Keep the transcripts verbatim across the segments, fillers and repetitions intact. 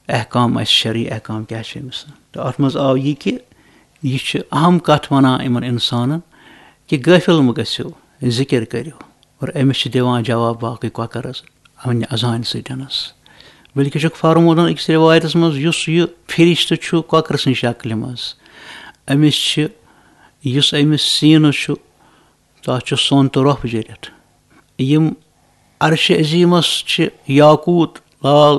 احکام آسہِ، شرعی احکام کیٛاہ چھِ أمِس۔ تہٕ اَتھ منٛز آو یہِ کہِ یہِ چھِ اہم کَتھ وَنان یِمَن اِنسانَن کہِ غٲفِل مہٕ گٔژھِو، ذِکِر کٔرِو۔ اور أمِس چھِ دِوان جواب باقٕے کۄکَرَس اَمہِ اذانہِ سۭتۍ۔ بلکہِ چھُکھ فرمودن أکِس رِوایتَس منٛز، یُس یہِ فرشتہٕ چھُ کۄکرٕ سٕنٛدِ شکلہِ منٛز، أمِس چھِ، یُس أمِس سیٖنَس چھُ، تَتھ چھُ سۄن تہٕ رۄپھ جٔرِتھ۔ یِم عرشِ عظیٖمَس چھِ یاقوٗت، لال،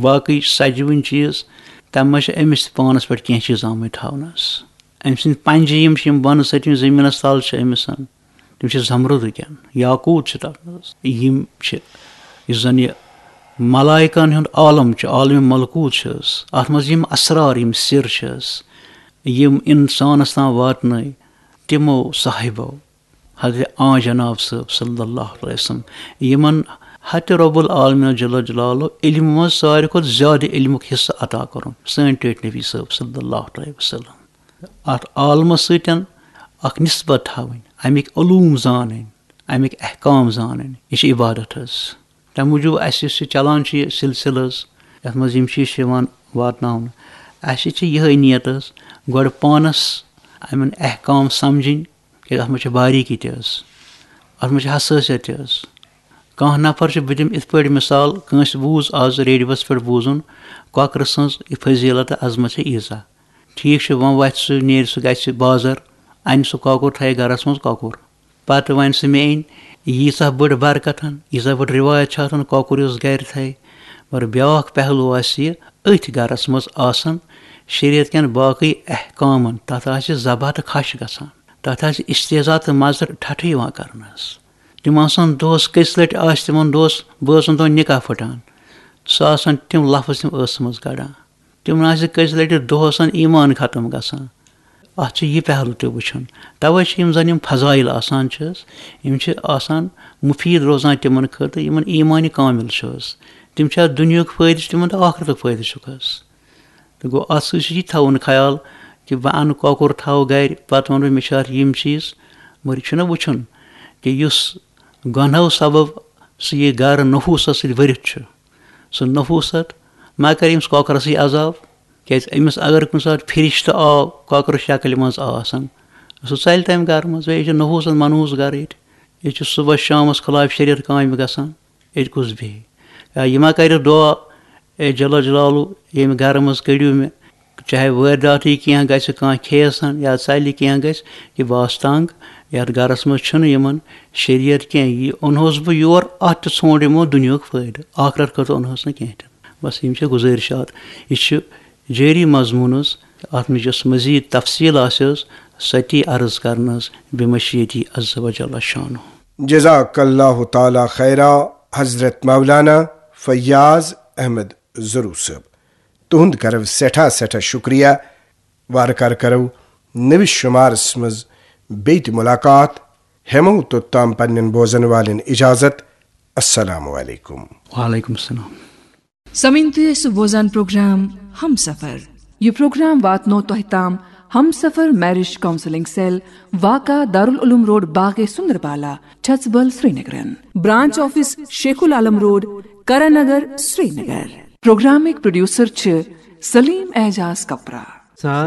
باقٕے سجوٕنۍ چیٖز، تَمہِ منٛز چھِ أمِس تہِ پانَس پٮ۪ٹھ کینٛہہ چیٖز آمٕتۍ تھاونَس۔ أمۍ سٕنٛدۍ پنٛجہِ یِم چھِ، یِم بۄنہٕ سۭتۍ یِم زٔمیٖنَس تَل چھِ أمِس، تِم چھِ زمرُدٕکٮ۪ن، یاقوٗت چھِ تَتھ منٛز۔ یِم چھِ، یُس زَن یہِ ملائکن ہُنٛد عالم چھُ، عالم ملکوٗت چھِ حظ، اَتھ منٛز یِم اسرار، یِم سِر چھِ حظ، یِم اِنسانَس تام واتنٲے تِمو صاحبو، حضرت آ جناب صٲب صلی اللہ علیہ وسلم، یِمن حضرت رب العالمین جل جلالہ علم منٛز ساروی کھۄتہٕ زیادٕ علمُک حصہٕ عطا کوٚرُن، سٲنۍ ٹٲٹھۍ نبی صٲب صلی اللہ علیہ وسلم۔ اَتھ عالمس سۭتۍ اکھ نسبت تھاوٕنۍ، اَمِکۍ علوم زانٕنۍ، اَمِکۍ احکام زانٕنۍ، یہِ چھِ عبادت حظ۔ تَمہِ موٗجوٗب اَسہِ یُس یہِ چلان چھُ یہِ سلسلہٕ حظ، یَتھ منٛز یِم چیٖز چھِ یِوان واتناونہٕ، اَسہِ چھِ یِہے نیت حظ، گۄڈٕ پانس یِمن احکام سمجھٕنۍ، کیازِ اَتھ منٛز چھِ باریٖکی تہِ حظ، اَتھ منٛز چھِ حسٲسیت تہِ حظ۔ کانٛہہ نفر چھُ، بہٕ دِمہٕ یِتھ پٲٹھۍ مثال، کٲنٛسہِ بوٗز آز ریڈیوَس پٮ۪ٹھ بوٗزُن، کۄکرٕ سٕنٛز یہِ فضیٖلت تہٕ عظمت چھِ ییٖژاہ۔ ٹھیٖک چھُ، وۄنۍ وَتھِ سُہ، نیرِ سُہ، گژھِ بازر، اَنہِ سُہ کۄکُر، تھایہِ گرَس منٛز کۄکُر۔ پَتہٕ وَنہِ سُہ، مےٚ أنۍ ییٖژاہ بٔڑ برکتن، ییٖژاہ بٔڑ رِوایت چھِ آسان، کۄکُر یُس گرِ تھایہِ۔ مگر بیٛاکھ پہلو آسہِ یہِ، أتھۍ گرَس منٛز آسان شریعت کٮ۪ن باقٕے احکامن، تَتھ آسہِ ذبح تہٕ کھَش گژھان۔ تَتھ آسہِ استحضاء تہٕ مَزٕ ٹھٹھٕ یِوان کرنہٕ حظ۔ تِم آسَن دۄہَس، کٔژِ لَٹہِ آسہِ تِمَن دۄہَس، بٲژَن دۄہَن نِکاح پھٕٹان، سُہ آسَن تِم لفظ تِم ٲسہٕ منٛز کَڑان۔ تِمَن آسہِ کٔژِ لَٹہِ دۄہَس ایٖمان ختم گژھان۔ اَتھ چھُ یہِ پہلو تہِ وٕچھُن۔ تَوَے چھِ یِم زَن یِم فضائل آسان چھِ حظ، یِم چھِ آسان مُفیٖد روزان تِمَن خٲطرٕ، یِمَن ایٖمانِ کامِل چھُ حظ۔ تِم چھِ اَتھ دُنیاہُک فٲیدٕ چھُ تِمَن تہٕ آخرتُک فٲیدٕ چھُکھ حظ۔ تہٕ گوٚو، اَتھ سۭتۍ چھُ یہِ تھاوُن خیال کہِ بہٕ اَنہٕ کۄکُر، تھاوٕ گرِ، پَتہٕ وَنہٕ بہٕ، مےٚ چھِ اَتھ یِم چیٖز۔ مگر یہِ چھُنہ وٕچھُن کہِ یُس گۄنہو سبب سُہ یہِ گرٕ نحوٗسَس سۭتۍ بٔرِتھ چھُ، سُہ نحوٗست ما کَرِ أمِس کۄکرَسٕے عذاب؟ کیٛازِ أمِس اگر کُنہِ ساتہٕ فرشتہٕ آو کۄکرٕ شکلہِ منٛز آسان، سُہ ژَلہِ تَمہِ گرٕ منٛز۔ بیٚیہِ چھُ نحوٗست منحوٗس گرٕ ییٚتہِ۔ ییٚتہِ چھُ صُبحَس شامَس خلاف شریعت کامہِ گژھان۔ ییٚتہِ کُس بیٚہہِ؟ یا یہِ ما کَرِ دُعا، اے جل جلالو، ییٚمہِ گرٕ منٛز کٔڑِو مےٚ، چاہے وٲرۍ داتھٕے کینٛہہ گژھِ، کانٛہہ کھیٚیَس ہن یا ژَلہِ کینٛہہ گژھِ، یہِ بہٕ آسہٕ تنٛگ، یَتھ گرَس منٛز چھُنہٕ یِمَن شریعت کینٛہہ، یہِ اوٚنہوس بہٕ یور، اَتھ تہِ ژھونٛڈ یِمو دُنیاہُک فٲیدٕ، آخرت خٲطرٕ اوٚنہوس نہٕ کینٛہہ تہِ۔ بس یِم چھِ گُزٲرِشات۔ یہِ چھِ جٲری مضموٗن حظ، اَتھ منٛز یۄس مزید تفصیٖل آسہِ حظ، سۄ تی عرض کرنہٕ حظ بمشیتی عز و جل شانہ۔ جزاک اللہ تعالیٰ خیرا حضرت مولانا فیاض احمد ضروٗ صٲب۔ تُہُنٛد کرو سٮ۪ٹھاہ سٮ۪ٹھاہ شُکریہ۔ وارٕ کارٕ کرو نٔوِس شُمارس منٛز بیٚیہِ تہِ مُلاقات۔ ہٮ۪مو توٚتام پننٮ۪ن بوزن والٮ۪ن اجازت۔ السلام علیکم۔ وعلیکم السلام۔ سامعیٖن، تُہۍ ٲسِو بوزان پروگرام ہمسفر۔ یہِ پروگرام واتنو تۄہہِ تام ہمسفر میرج کاؤنسلنگ سیل، واقع دارالعلوم روڈ، باغے سندربالا، چھژبل، سرینگرن۔ Branch office Sheikh ul-Alam road, Karan Nagar, Srinagar. پروگرامٕکۍ پروڈیوسر چھِ سلیم اعجاز کپرا۔